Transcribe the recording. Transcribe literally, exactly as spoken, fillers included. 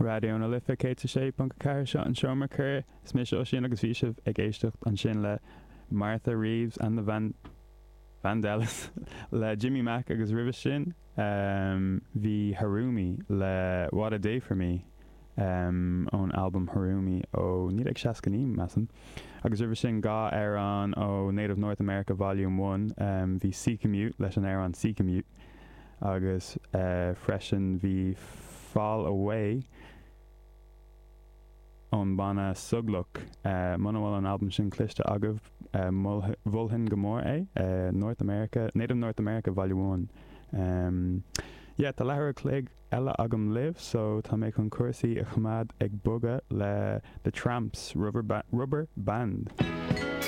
Raidió na Life céad a sé ponc a ceathair seo an Seomra Comhrá is mise Oisín agus bhí sibh ag éisteacht ansin le Martha Reeves and the Van Vandellas le Jimmy Mack agus roimhe sin um, bhí Harumi le What a Day for Me um, ón album Harumi ó naoi déag seasca naoi measaim. Agus roimhe sin dhá amhrán ó Native North America Volume one um, bhí Sea Commute leis an amhrán Sea Commute agus uh, freisin bhí Fall Away ón banna Sugluk uh, muna bhfuil an album sin cloiste agaibh uh, mholfainn go mór é uh, North America Native North America Volume one. Um, yeah, tá leathuair a chloig eile agam libh, so tá mé chun cúrsaí a choimeád ag bogadh le The Tramps Rubber, ba Rubber Band.